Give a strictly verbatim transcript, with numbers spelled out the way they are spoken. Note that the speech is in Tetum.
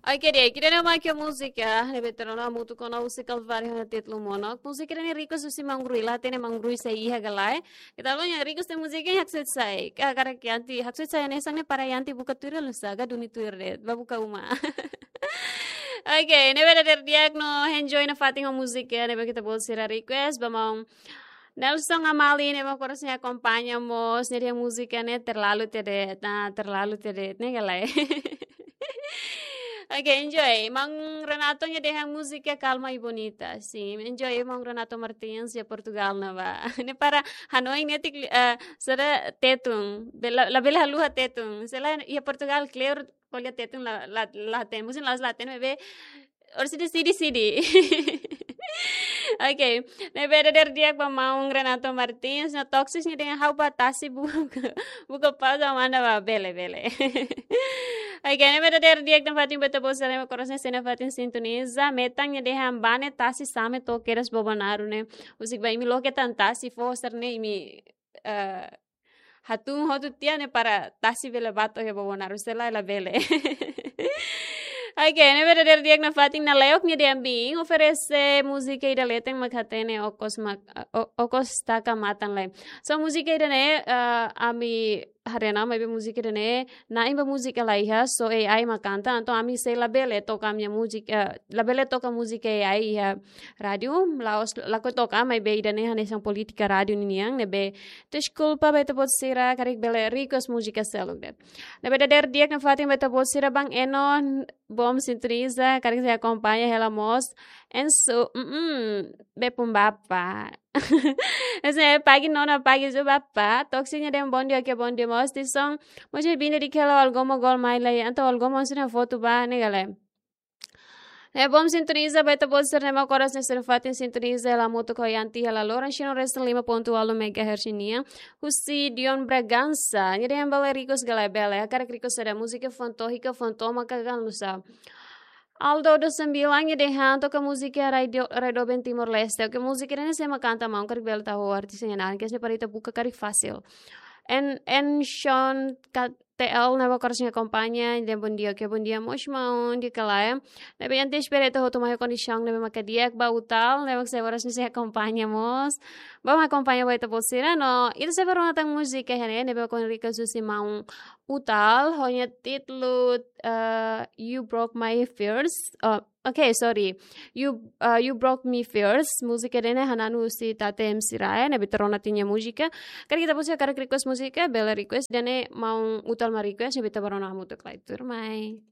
Oke, di'ak, ida-ne'e mak múzika ne'ebé ita rona hamutuk ona husi Kalváriu ho títulu Monok. Múzika ne'e request husi Maun Rui, la hatene Maun Rui sei iha ka lae. Ita rona request husi múzika ne'e haksoit sai. Ka karik Yanti, haksoit sai hanesan ne'e para Yanti buka tuir hela nusá, ka duni tuir de'it, bá buka uma. Oke, ne'ebé dadeer di'ak no enjoy nafatin ho múzika ne'ebé ita-boot sira request, ba Maun Nelson Amali ne'ebé mak oras ne'e akompaña mós, nia dehan múzika ne'e terlalu tede, ah, terlalu tede, ne'e ka lae. Oke, enjoy. Maun Renato nia dehan múzika kalma e bonita. Sin, enjoy Maun Renato Martins iha Portugal ne'ebá. Ne'e para hanoin netik, eh, sira Tetun. Bele, labele haluha Tetun. Se lae iha Portugal kleur ko'alia Tetun la, la, la hatene. Musin la, la hatene, maibé oras ida sidi, sidi. Oke, ne'ebé dadeer di'ak ba Maun Renato Martins, no Toxic nia dehan ha'u bá tasi buka, buka pauza manda bá, bele, bele. Oke, ne'ebé dadeer di'ak nafatin ba ita-boot sira ne'ebé oras ne'e sei nafatin sintoniza, Metan nia dehan bá ne'e tasi same to'o kedas Bobonaro ne'e. Husik ba imi loke tan tasi fó sira-ne'e imi, eh, hatún hotu tiha ne'e para tasi bele bá to'o iha Bobonaro, se lae labele. Oke, ne'ebé dadeer di'ak nafatin Naleok nia dehan bin, oferese múzika ida leten mak hatene okos mak, o-, okos taka matan lae. So múzika ida-ne'e, eh, ami haree ona maibé múzika ida-ne'e, na'in ba múzika la iha, só A I mak kanta, entaun ami sei labele toka ami-nia múzika, eh, labele toka múzika A I iha rádiu, la'ós lakohi toka, maibé ida-ne'e hanesan polítika rádiu ninian, ne'ebé deskulpa ba ita-boot sira, karik bele request múzika seluk de'it. Ne'ebé dadeer di'ak nafatin ba ita-boot sira, Bang Eno, bom sintoniza, karik sei akompaña hela mós, Ensu, mm, bepun bapa. Ese pagi nona pagi zu bapa, Toxic nia dehan bondia, oke, bondia mós, Tison, mós bine di kela algomo gol mai lai, entaun algomo sira foto bá, ne'e ka lae. Ne'e bom sintoniza, ba ita-boot sira ne'ebé oras ne'e sei nafatin sintoniza hela hamutuk ho Yanti hela loron, Xino Resta lima ponto walu megahertz nian. Husi Dion Bragança, nia dehan bele request ka lae, bele, hakarak request saida, múzika Fantohi ka Fantoma ka Ganusa. Aldo dos Sembilan nia dehan toka múzika Rai Do-, Rai Doben Timor-Leste. Oke, múzika ne'e sé mak kanta, maun, karik bele tau ho artis nia naran, karik ne'e para ita buka karik fasil. En, en Sean K T L ne'ebé oras ne'e akompaña, nia dehan bondia, oke, bondia mós maun, di'ak ka lae. Ne'ebé Yanti espera ita hotu mai kondisaun ne'ebé mak di'ak, ba Utal ne'ebé mak sei oras ne'e sei akompaña mós. Bá mak akompaña ba ita-boot sira, no ita sei bá rona tan múzika iha ne'e, ne'ebé mak request husi maun Utal, ho nia títulu, eh, You Broke My Fears. Oh, oke, sorry. You, eh, You Broke Me Fears. Múzika ida-ne'e hananu husi Tate M C Raya, ne'ebé ita rona tiha nia múzika. Karik ita-boot sira karik request múzika, bele request, ida-ne'e maun Utal mak request, ne'ebé ita bá rona hamutuk lai tuirmai.